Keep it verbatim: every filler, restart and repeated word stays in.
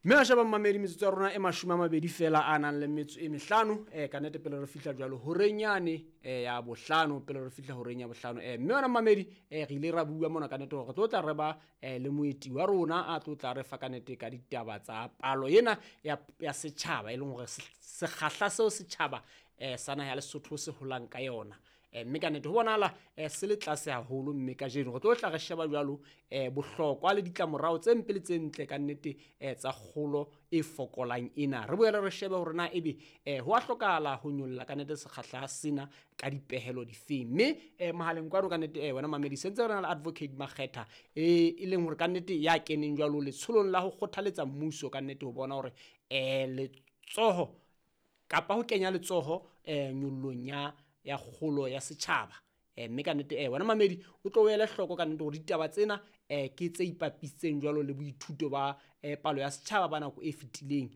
Mme wa sheba mmamedi, metsotso ya rona e mashome a mabedi fela a nang le metso e mehlano um ka nnete pele re fihla jwalo horeng yane um ya bohlano, pele re fihla horeng ya bohlano um mme wena mmamedi, um re ile ra bua mona ka nnete hore re tlo tla re ba um le moeti wa rona a tlo tla re fa ka nnete ka ditaba tsa palo ena ya, ya setjhaba, e leng hore sekgahla seo setjhaba um sa naha ya Lesotho se holang ka yona. um mme ka nnete ho bonahala um se le tlase haholo, mme kajeno re tlo tla re sheba jwalo um bohlokwa le ditlamorao tse mpe le tse ntle ka nnete um tsa kgolo e fokolang ena. Re boele re shebe hore na ebe um ho a hlokahala ho nyolla ka nnete sekgahla sena ka dipehelo difeng. Mme um mohaleng kwano ka nnete um wena mamedi sentse re na le Advocate Makgetha, e e leng hore ka nnete ya keneng jwalo letsholong la ho kgothaletsa mmuso ka nnete ho bona hore um letsoho kapa ho kenya letsoho um nyollong ya ya kgolo ya setjhaba. um mme ka nnete um wena mamedi o tlo o ele hloko ka nnete hore ditaba tsena um ke tse ipapisitseng jwalo le boithuto ba um palo ya setjhaba ba nako e fetileng.